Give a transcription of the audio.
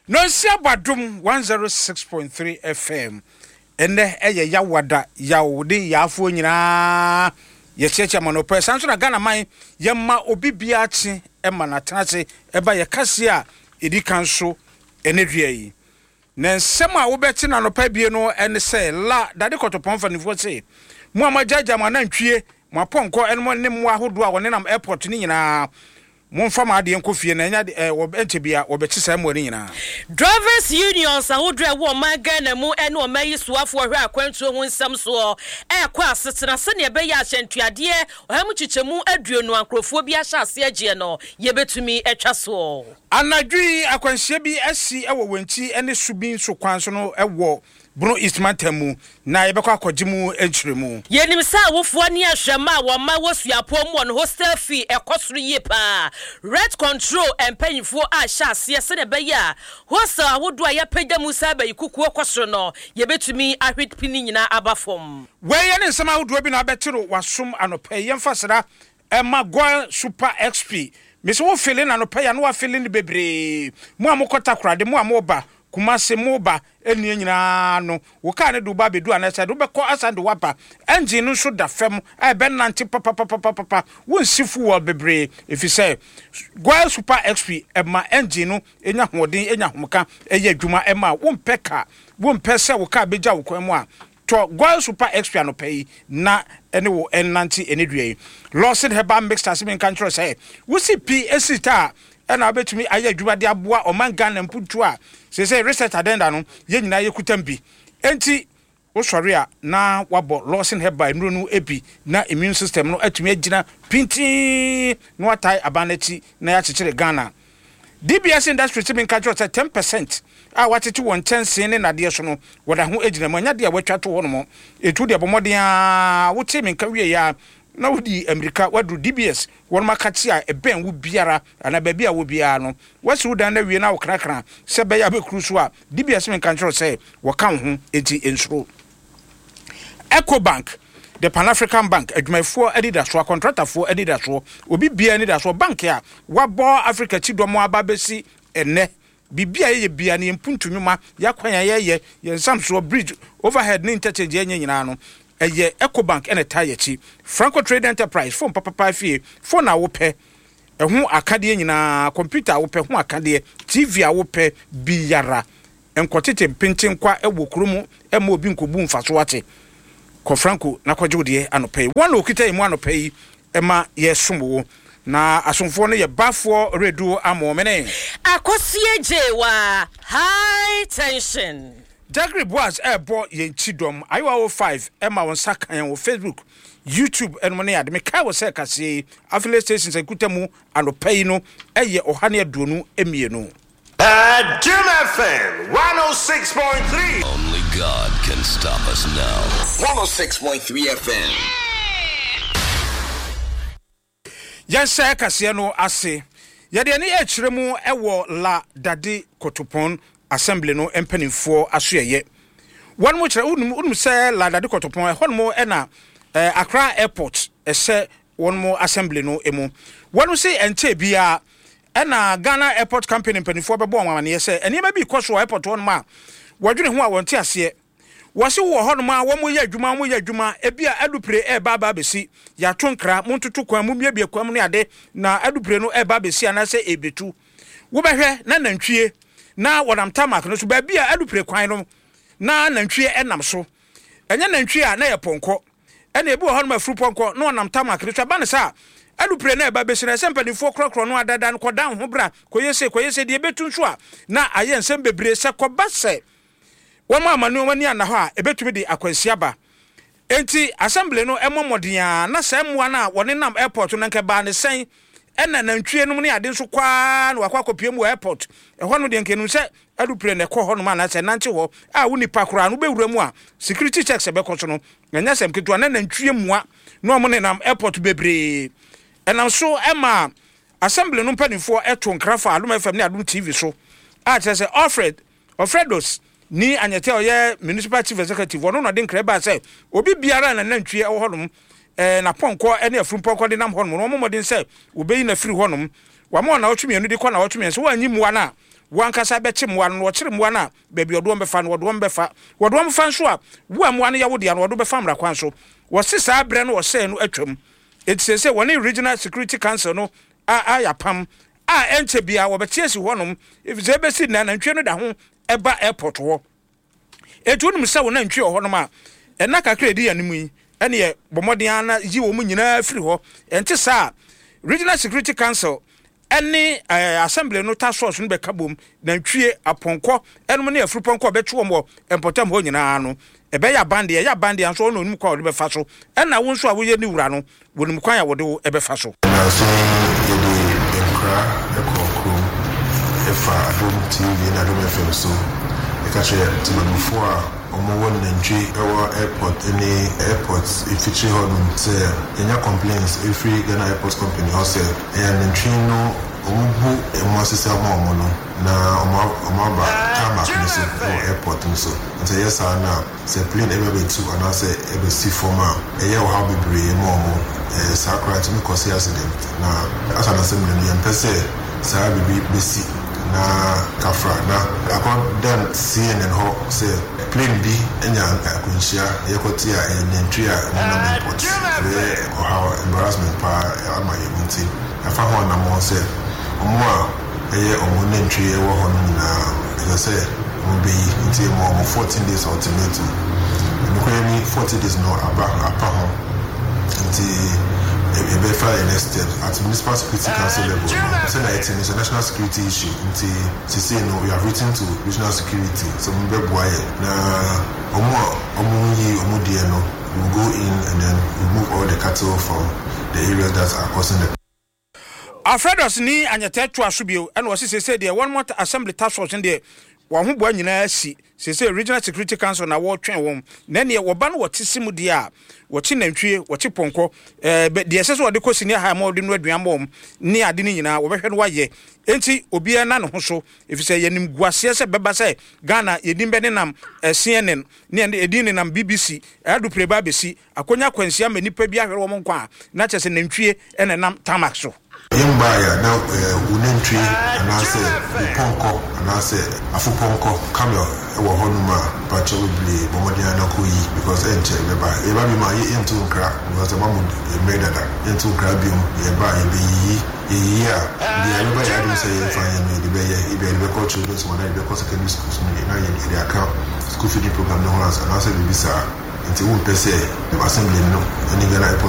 Nonsia Badom 106.3 FM. Ɛnnɛ ɛyɛ Yawada, Yaw ne Yaafoɔ nyinaa yɛkyeakyea mo anɔpa yi. Saa nso na Ghana man yɛma obi biara kye ma no atena ase ɛba yɛ kaseɛ a ɛdi kan so ɛnɛ dua yi. Na nsɛm a wobɛte no anɔpa abie no ne sɛ, La dade kɔtɔpɔn mfanimfoɔ se, mo a moagyaagyaa mo anantwie, mo apɔnkɔ ne mo ne mmoa ahodoɔ a wɔnenam airport no nyinaa, Momfa mo adeɛ nkɔ fie na ɛnyɛ ade ɛ, wɔ, ɛnkyɛ biara wɔbɛkye saa mmoa no nyinaa. Drivers Unions ahodoɔ a ɛwɔ ɔman Ghana mu ne ɔman yi soafoɔ hwɛ akwantuo ho nsɛm soɔ rekɔ asetena sɛdeɛ ɛbɛyɛ a ahyɛntuadeɛ ɔha mu kyekyɛmu aduonu a nkorɔfoɔ bi ahyɛ aseɛ agyeɛ no yɛbɛtumi atwa soɔ. Anadwo yi, akwanhyia bi asi wɔ Wenchi ne Subin so kwan so no wɔ Bono East mantam mu, na yɛbɛkɔ akɔgye mu nkyerɛmu. Yɛnim sɛ awofoɔ ne ahwɛmma a wɔn mma wɔ suapɔn mu wɔn hostel fee ɛkɔ soro yie paa. Rent control mpanyinfoɔ ahyɛ aseɛ sɛdeɛ ɛbɛyɛ a hostel ahodoɔ a yɛapagya mu saa bɛyi kukuo kɔ soro no yɛbɛtumi ahwe pi ne nyinaa aba fam. Wei ne nsɛm ahodoɔ bi na abɛte no w'asom anɔpa yi. Yɛmfa sra mma Goil Super XP. Mese wo fele no anɔpa yi a na wafele no bebree. Mo a mokɔ Takoradi, mo a moba Kumasi, moba nneɛ nyinaa no, wo kaa no de wo ba abɛdu anaasɛ ɛde wo bɛkɔ asan de wo aba. Engine no nso da fam a ɛbɛnante papapapapapa. Wonsi fuel bebree efisɛ Goil Super XP ma engine no nya ahoɔden, nya ahomeka, ɛyɛ adwuma ma wo. Wompɛ kaa, wompɛ sɛ wo kaa bɛgya wo kwan mu a, Tɔ Goil Super XP anɔpa yi na ɛne wo nnante ɛnnɛ dua yi. Lawson Herbal Mixture se menka nkyerɛ wo sɛ wosi pi si ta a ɛna wobɛtumi ayɛ adwuma de aboa ɔman Ghana mpuntuo a seesei research adenda no yɛn nyinaa yɛkutam bi. Enti wosɔre a na wabɔ Lawson Herbal nnuro no bi na immune system no atumi agyina pintinn na watae aban no akyi na yɛakyekyere Ghana. DBS Industries tumi nka kyerɛ wo sɛ 10% a wɔatete wɔ nkyɛnsee ne nnadeɛ so no, wɔda ho gyina mu. Ɛnyɛ adeɛ a wɔatwa ato hɔnom. Enti wo deɛ bɔ mmɔden ara, wotee me nka wieeɛ ara na wodi mmirika woaduru DBS wɔnom akakye a ɛbɛn wo biara anaa baabi a wɔ biara no. Woasi wo dan no awie na wokrakra sɛ ɛbɛyɛ a wobɛkuru so a, DBS menka nkyerɛ wo sɛ wɔka wo ho, enti nsuro. Ecobank, The Pan African Bank, adwumayɛfoɔ anidasoɔ, akɔntratafoɔ anidasoɔ, obi biara anidasoɔ, bank a wabɔ Africa kyidɔm aba abɛsi ɛnnɛ. Biribi a yɛyɛ biara no, yɛn mpuntu nnwuma, yɛn akwan a yɛyɛ, yɛn nsamsoɔ, bridge, overhead ne interchange a yɛnyɛ nyinaa no, ɛyɛ Ecobank na ɛtaa yɛn akyi. Franco Trade Enterprise, phone papapa afie, phone a wopɛ, ɛho akadeɛ nyinaa, computer a wopɛ ho akadeɛ, TV a wopɛ biara, Nkɔtete mpentenkwa wɔ kuro mu mma obi nkɔbu mfaso ate. Kɔ Franco na kɔgye wo deɛ anɔpa yi. Wɔn na wɔkita yɛn mu anɔpa yi ma yɛsom wo. Na asomfoɔ no yɛ Bafoɔ Redu Amoomene. Akosie Gyewa, High tension. Jagri Boaz rebɔ yɛn kyidɔm. Ayewa 05 ma wo nsa ka yɛn wɔ Facebook, YouTube nom ne ade. Mekae wo sɛ kaseɛ yi, affiliate stations a ɛkuta mu anɔpa yi no yɛ 122. Adom FM 106.3. Only God can stop us now. 106.3 FM. Yɛnhyɛ kaseɛ no ase. Yɛde ani rekyerɛ mu wɔ La Dade Kotopon Assembly no mpanimfoɔ asoɛeɛ. Wɔn kyerɛ, wonim, wonim sɛ La Dade Kotopon, ɛhɔnom na eh, Accra Airport ɛhyɛ wɔn assembly no mu. Wɔn se ɛnkyɛɛ biara Ɛna Ghana Airport Company mpaninfoɔ bɛbɔ wɔn amaneɛ sɛ nneɛma bi rekɔ so wɔ airport hɔnom a wɔdwene ho a wɔnte aseɛ. Wɔse wowɔ hɔnom a wɔyɛ adwuma wɔyɛ adwuma ebia adupre reba aba abɛsi, yɛato nkra, montoto kwan, mommiabia kwan mu ne ade na adupre no reba abɛsi anaasɛ ɛrebɛtu. Wobɛhwɛ na nantwie na wɔnam tarmac no so baabi a adupre kwan no na nantwie nam so. Ɛnyɛ nantwie a na ɛyɛ pɔnkɔ. Ɛna ebi wɔ hɔnom afurupɔnkɔ na ɔnam tarmac no so. Ɛba no saa a, alupre na ɛba besi no, ɛsɛ sɛ mpanimfoɔ korɔkorɔ no adada no kɔdan wo ho bra, kɔyɛ sei, kɔyɛ sei. Deɛ ɛbɛtu nso a, na ayɛ nsɛm bebree. Sɛ kɔba sɛ wɔamma nneɛma ani anna hɔ a, ɛbɛtumi de akwanhyia aba. Enti assembly no mmɔ mmɔden ara na saa mmoa no a wɔnenam airport no, anka ɛbaa no sɛn? Ɛna nantwie nom ne ade nso kɔ ara na wakɔ akɔpue mu wɔ airport. Ɛhɔ no deɛ nka ɛnum sɛ aeroplane na ɛkɔ hɔnom anaasɛ ɛnante hɔ a wo nipa koraa no wobɛwura mu a security checks ɛbɛkɔ so no ɛnyɛ asɛm ketewa na nantwie mua na wɔn nenam airport bebree. Ɛnam so ɛma assembly no mpanimfoɔ ɛto nkra fa Adom FM ne Adom TV so a kyerɛ sɛ Alfred Alfredos Nii Anyɛte a ɔyɛ Municipal Chief Executive, ɔno na ɔde nkra bae sɛ obi biara a n'anantwie wɔ hɔnom, n'apɔnkɔ ne afurumpɔnkɔ denam hɔnom no, wɔmmɔ mmɔden sɛ wɔbɛyi no afiri hɔnom. Wɔama wɔn nnawɔtwe mmienu de kɔ nnawɔtwe mmiɛnsa. Wɔanyi mmoa no a, Wo ankasa bɛkye mmoa no, na wɔkyere mmoa no a, baabi a wɔde wɔn bɛfa no, wɔde wɔn bɛfa. Wɔde wɔn fa nso a, wo a mmoa no yɛ wo dea no, wɔde wo bɛfa mmara kwan so. Wɔse saa berɛ no ɔsɛe no atwam. Enti seesei wɔne Regional Security Council no ayɛ apam a ɛnkyɛ biara wɔbɛte asi hɔnom, efisɛ ebesi nnɛ anantwie no da ho ba airport hɔ. Enti wonim sɛ wo nantwie wɔ hɔnom a, nna kakra a edi anim yi, ɛneɛ bɔ mmɔden ara na yi wɔn nyinaa firi hɔ. Ɛnte saa a, Regional Security Council ne Assembly no task force no bɛka bom, nantwie, apɔnkɔ nom ne afurupɔnkɔ a wɔbɛkye wɔn wɔ mpɔtam hɔ nyinaa no. Ɛbɛyɛ aban deɛ, ɛyɛ aban deɛ nso ɔno na onim kwan a ɔde bɛfa so, ɛna wo nso a woyɛ ne wura no, wɔnim kwan a wɔde wo bɛfa so. Nnansa yi yɛde nkra kɔɔ kurom fa Adom TV ne Adom FM so ka kyerɛ temamufoɔ a wɔwɔ nantwi wɔ airport ne airport mfikyire hɔ nom sɛ yɛnya complaints firi Ghana Airport Company hɔ sɛ ɛyɛ anantwi no wɔbu mmoa sesa ma wɔn no na wɔaba tarmac no so wɔ airport no so nti ɛyɛ saa no a Sɛ plane ɛba bɛtu anaasɛ ɛbɛsi fam a, ɛyɛ ɔhaw bebree ma wɔn. Ɛɛ saa koraa ɛtumi kɔse accident. Na as an assembly no, yɛmpɛ sɛ saa biribi bɛsi na kafra na akɔ dan CNN hɔ sɛ plane bi anya akwanhyia, yɛkɔte a ɛyɛ nantwi a wɔnam airport. Ɛbɛyɛ ɔhaw, embarrassment paa ama yɛn nti yɛafa ho anammɔn sɛ wɔn a ɛyɛ wɔn nantwie ɛwɔ hɔ no nyinaa ɛsɛ sɛ wɔn bɛyi nti yɛma wɔn 14 days ultimatum. Nokorɛ ni 40 days no aba apa ho nti yɛbɛfa yɛn next steps at municipal security council level no sɛnea ɛte no it's a national security issue nti sesei no we have written to regional security sɛ wɔn bɛboa yɛn na wɔn a wɔn nyi wɔn deɛ no we will go in and then remove all the cattle from the areas that are causing the Alfredus ni Anyɛtɛ toa so bio ɛna ɔse seesei deɛ wɔn assembly task force no deɛ wɔn ahoboa nyinaa asi, seesei regional security council na wɔretwɛn wɔn, na ɛneɛ wɔba no wɔte se mu deɛ a wɔkye nantwie, wɔkye pɔnkɔ, ɛɛ deɛ ɛsɛ sɛ wɔde kɔ senior high ma wɔde no aduan ma wɔn ne ade no nyinaa wɔbɛhwɛ no wɔayɛ, enti obiara na ne ho so efisɛ yɛnim guaseɛ sɛ bɛba sɛ Ghana yɛdin bɛnenam CNN ne yɛdin nenam BBC, adupre ba abɛsi Akonya akwanhyia ma nnipa bi ahwere wɔn nkwa a, na kyerɛ sɛ nantwie na ɛnam tarmac so. Yɛmbaeɛ a, na wo nantwie anaasɛ wo pɔnkɔ anaasɛ afopɔnkɔ, camel, wɔ hɔ nom a, mpakyɛw bebree bɔ mmɔden ara na kɔ yi because ɛnkyɛ yɛbɛba. Yɛba biom a, yɛnto nkra because yɛama mo mmerɛ dada. Yɛnto nkra biom, yɛba a yɛbɛyiyi. Yɛyiyi a, deɛ ɛbɛba yɛn adwene sɛ yɛmfa nyɛ no yɛde bɛyɛ. Ebia yɛde bɛkɔ children's home anaa yɛde bɛkɔ secondary schools no na yɛde aka school feeding program no ho anaasɛ biribi saa. Nti wompɛ sɛ assembly no ne Ghana Airport.